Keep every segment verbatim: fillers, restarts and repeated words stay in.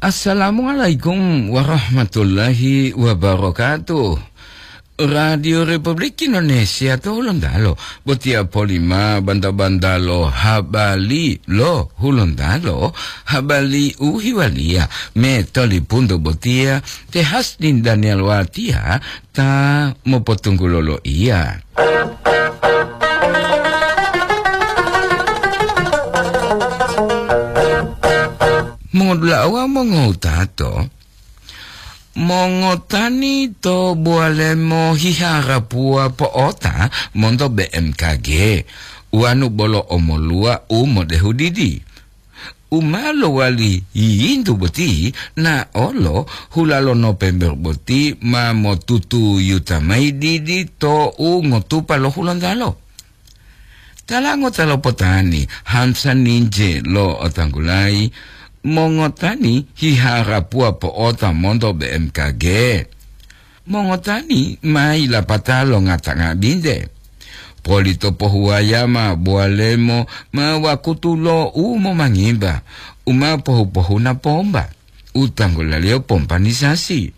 Assalamualaikum warahmatullahi wabarakatuh. Radio Republik Indonesia to Hulontalo, botiya polima banta-banta lo habari lo Hulontalo, habari u hiwaliya me tolipunto botiya te Hasdin Daniel Watia ta mopotunggulo loiya. Mongodula'a wawu mongowutato, mongotani to Bowalemo hiharapuwa po'ota monto B M K G, wanu bolo omoluwa u modehu didi. U ma lowali yiyintu boti, na olo hula lo Nopember boti ma motutuyuta mayi didi to u ngotupa lo Hulontalo. Tala ngota lo potani, Hamsa Ninje lo otanggulayi, mongotani hiharapuwa po'ota monto B M K G. Mongotani ma yilapata longata nga'abinte. Polito pohuwaya ma Bowalemo ma wakutu lo u momangimba, u ma pohu-pohuna pomba, u tanggulaliyo pompanisasi.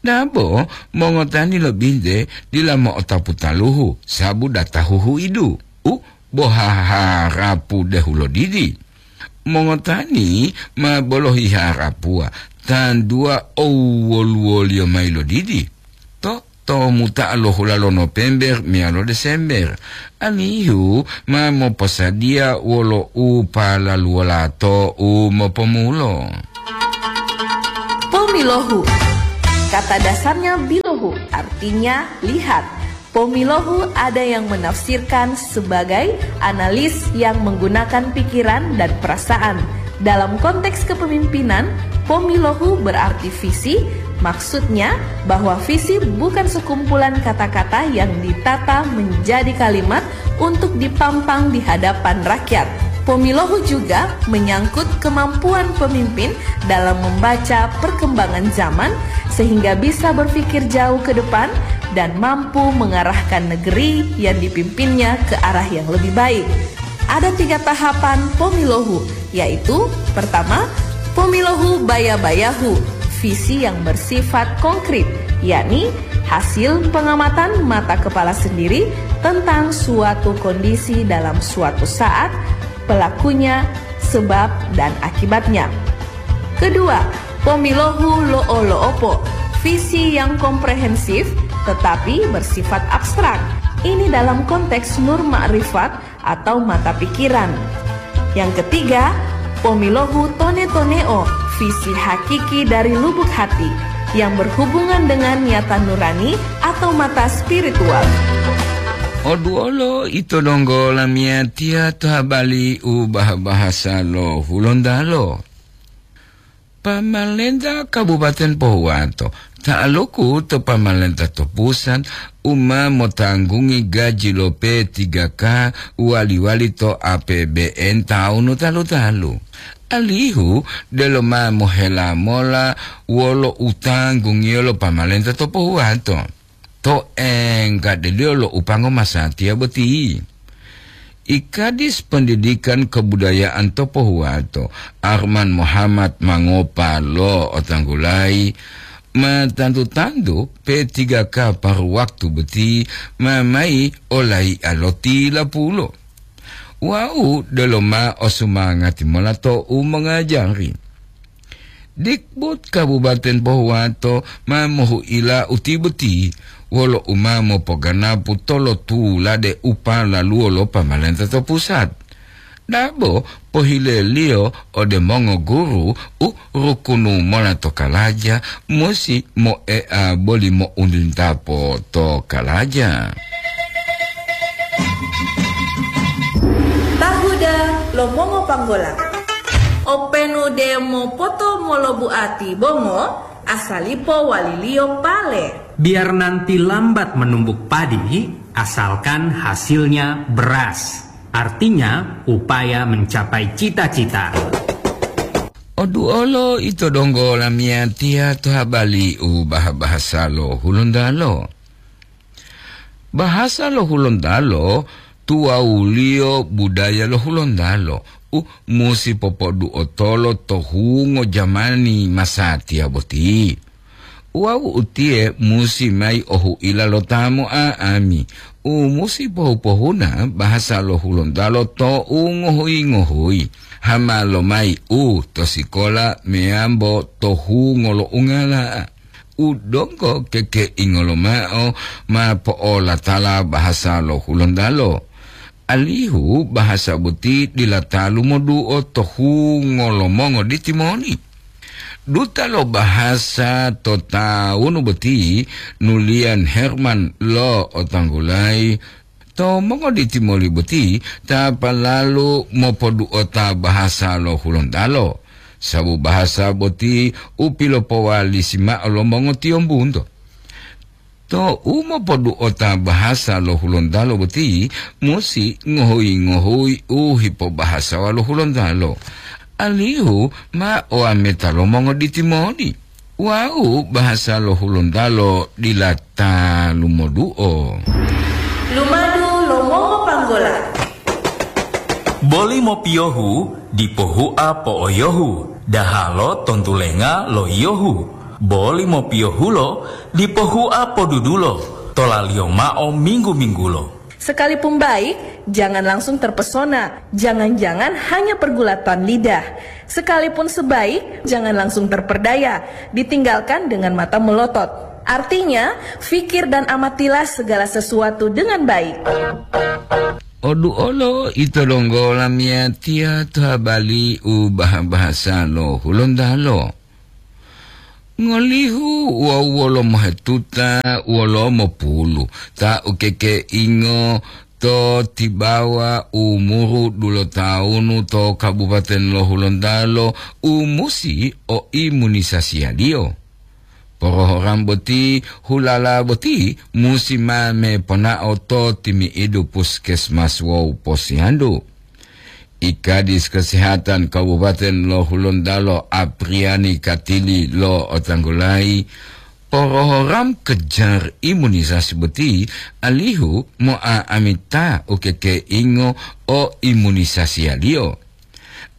Dabo mongotani lo binte dila mo'otapu taluhu, sabu data huhuidu, u bo haharapu dehulo didi. Mongotani ma bolohi harapuwa, tanduwa owoluwoliyo mayi lodidi. To, to muta'a lo hula lo Nopember meyalo Desember, alihu ma moposadiya wolo u palaluwola to u mopomulo. Pomilohu. Kata dasarnya bilohu, artinya lihat. Pomilohu ada yang menafsirkan sebagai analis yang menggunakan pikiran dan perasaan. Dalam konteks kepemimpinan, pomilohu berarti visi, maksudnya bahwa visi bukan sekumpulan kata-kata yang ditata menjadi kalimat untuk dipampang di hadapan rakyat. Pomilohu juga menyangkut kemampuan pemimpin dalam membaca perkembangan zaman sehingga bisa berpikir jauh ke depan dan mampu mengarahkan negeri yang dipimpinnya ke arah yang lebih baik. Ada tiga tahapan pomilohu, yaitu pertama, pomilohu baya-bayahu, visi yang bersifat konkret, yakni hasil pengamatan mata kepala sendiri tentang suatu kondisi dalam suatu saat, pelakunya, sebab, dan akibatnya. Kedua, pomilohu lo'o-lo'opo, visi yang komprehensif tetapi bersifat abstrak. Ini dalam konteks nur makrifat atau mata pikiran. Yang ketiga, pomilohu tone-toneo, visi hakiki dari lubuk hati yang berhubungan dengan nyata nurani atau mata spiritual. Oduolo ito donggo lamiyatiya to habali u bah-bahasa lo Hulontalo. Pamalenta Kabupaten Pohuwato, ta'aluku to pamalenta to pusat, u ma motanggungi gaji lo P tiga K wali-wali to A P B N taunu talu-talu. Alihu delo ma mohela mola wolo u tanggungiyo lo pamalenta to Pohuwato. To enggadeliyo lo upango masatiya boti. I Kadis Pendidikan Kebudayaan to Pohuwato, Arman Muhammad Mangopa lo otanggulayi, ma tantu-tantu P tiga K paru waktu boti ma mayi olayi'a lo tilapulo. Wau delo ma osumangati mola to u mongajari. Dikbud Kabupaten Pohuwato ma mohu'ila uti boti wolo u ma mopoganapu tolotulade u palaluwo lo pamalenta to pusat. Dabo pohileliyo ode mongoguru u rukunu mola to kalaja musi moe'a boli mo'untintapo to kalaja. Tahuda lo mongopanggola. Openu demo poto molobu'ati bongo, asalipo waliliyo pale. Biar nanti lambat menumbuk padi, asalkan hasilnya beras. Artinya, upaya mencapai cita-cita. Oduolo ito donggo lamiyatiya to habali u bah-bahasa lo Hulontalo. Bahasa lo Hulontalo tuwawuliyo budaya lo Hulontalo, musi popoduotolo to hungo jamani masatiya boti. Wawu utiye musi mayi ohu'ila lo ta mo'a'ami, u musi pohu-pohuna bahasa lo Hulontalo to u ngohuyi-ngohuyi, hama lomayi u to sikola meyambo to hungo lo ungala'a. U donggo kekeingo lomao ma po'olatala bahasa lo Hulontalo, alihu bahasa boti dila talu moduo to hungo lo mongoditi moli. Duta lo bahasa to tawunu boti, Nulian Herman lo'otanggulayi, to mongoditi moli boti ta palalu mopoduota bahasa lo Hulontalo, sabu bahasa boti u pilopowalisi mao lo mongotiyombunto. To u mopoduota bahasa lo Hulontalo boti musi ngohuyi-ngohuyi u hipobahasawa lo Hulontalo, alihu ma oameta lo mongoditi moli. Wawu bahasa lo Hulontalo dila ta lumoduo. Lumadu lo mongopanggola. Boli mopiyohu dipo hua po'oyohu, dahalo tontulenga lo yiyohu. Boli mopiyohulo dipo hua podudulo, tolaliyo mao minggu-minggulo. Sekalipun baik, jangan langsung terpesona. Jangan-jangan hanya pergulatan lidah. Sekalipun sebaik, jangan langsung terperdaya. Ditinggalkan dengan mata melotot. Artinya, fikir dan amatilah segala sesuatu dengan baik. Odu olo ito donggo lamiyatiya to habali u baha-bahasa lo Hulontalo. Ngolihu wawu wolo mohetuta wolo mopulu ta ukekeingo to tibawa umuru dulotawunu to Kabupaten lo Hulontalo u musi o imunisasiyaliyo. Porohoram boti, hulala boti musi mame ponao to timi'idu puskesmas wawu posiyandu. I Kadis Kesehatan Kabupaten lo Hulontalo, Apriani Katili lo'otanggulayi, porohoram kejar imunisasi boti alihu mo'a'amita ukekeingo o imunisasiyaliyo,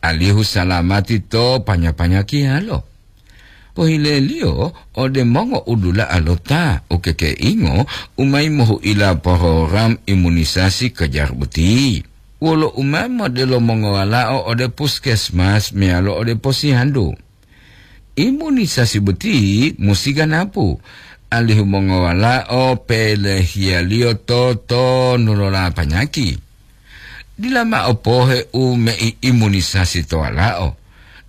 alihu salamati to panya-panyakiyalo. Pohileliyo ode mongo'udula'a lo ta ukekeingo u mayi mohu'ila porogram imunisasi kejar boti. Wolo u ma modelo mongowalao ode puskesmas meyalo ode posiyandu. Imunisasi boti musi ganapu, alihu mongowalao pelehiyaliyo to tonu lo lapanyaki. Dila mao pohe u meiimunisasi to walao.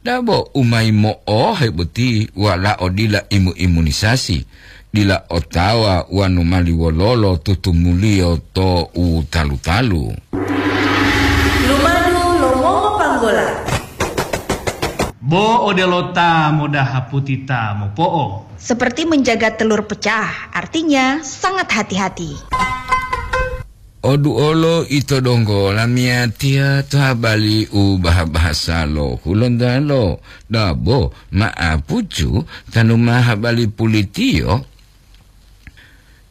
Dabo u mayi mo'ohe boti walao dila imu-imunisasi, dila otawa wanu mali wololo tutumuliyo to u talu-talu. Lumadu lo mongopanggola. Bo odelo ta modaha puti ta mopo'o. Seperti menjaga telur pecah, artinya sangat hati-hati. Odu olo ito donggo lamiyatiya to habali u baha-bahasa lo Hulontalo, dabo ma'apucu tanu ma habali pulitiyo.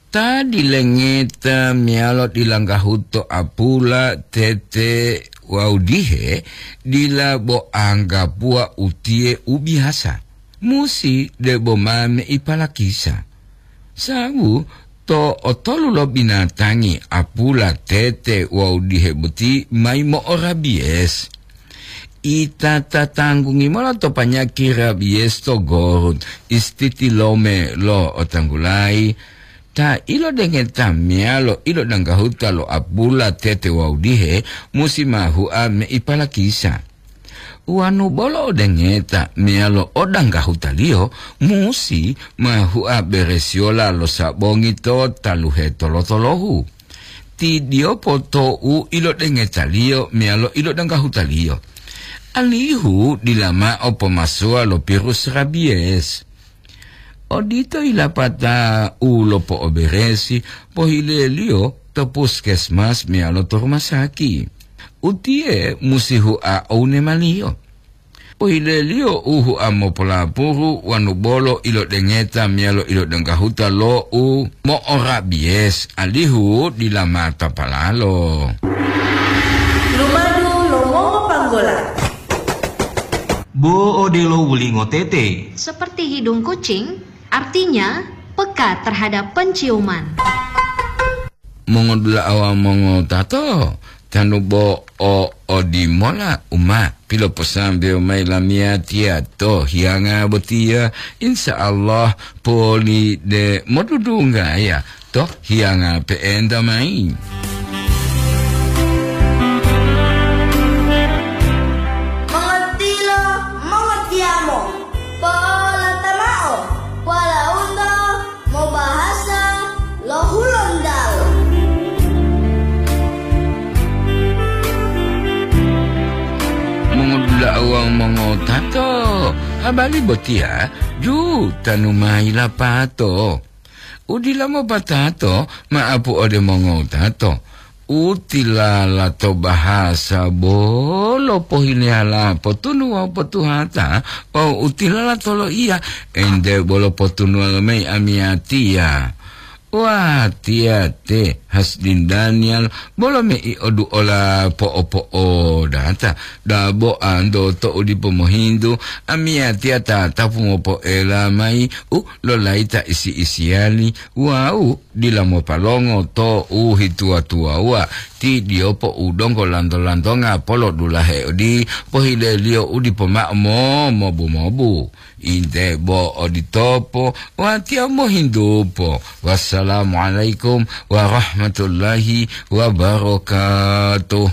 Ta dilengeta meyalo dilanggahuto apula, tete wawu dihe, dila bo anggapuwa utiye u biyasa. Musi debo ma meipalakisa. Sabu to otolu lo binatangi apula, tete wawu dihe boti mayi mo'orabiyes. Ita tatanggungi mola to panyaki rabiyes to gorut, istitilome lo otanggulayi, ta ilodengeta meyalo ilodanggahuta lo apula, tete wawu dihe musi ma hua meipalakisa. Wanu bolo odengeta meyalo odanggahutaliyo musi ma hua beresiyola lo sabongi to taluhe tolo-tolohu. Ti diyopo to u ilodengetaliyo meyalo ilodanggahutaliyo, alihu dila mao pomasuwa lo pirus rabiyes. Odito yilapata u lopo'oberesi pohileliyo to puskesmas meyalo to rumah saki. Utiye musi hua owunemaliyo. Pohileliyo u hua mopolapuru wanu bolo ilodengeta meyalo ilodenggahuta lo u mo'orabiyes, alihu dila mata palalo. Lumadu lo mongopanggola. Bo odelo wulingo tete. Seperti hidung kucing, artinya peka terhadap penciuman. Mongodula'a wawu mongotato, tanu bo o odimola u ma piloposambewo mayi lamiyatiya to hiyanga botiya, insya Allah poli de modudunggaya to hiyanga pe'enta mayi. Mongotilo, mongotiyamo, po'olata mao, polaunto mobahasa lo Hulontalo. Mongodula'a wawu mongotato, habari botiya jutanu mayi lapato. U dila mopatato, ma'apu ode mongotato. U tilala to bahasa bolo pohileyala potunu wawu potuhata, wawu u tilala to loiya, ente bolo potunuwa lomayi amiyatiya. Watiya te Hasdin Daniel bolo mei oduola po'opo'odata, dabo anto to u dipo mohintu, amiyatiya tatapu mopo'ela mayi u lolayita isi-isiyali wawu dila mopalongo to u hituwa-tuwawuwa, ti diyopo u donggo lanto-lantonga polodulahe odi pohileliyo u dipo ma'o momobu-mobu. Inte bo oditopo, watiya mohintupo. Wassalamualaikum warahmatullahi wabarakatuh.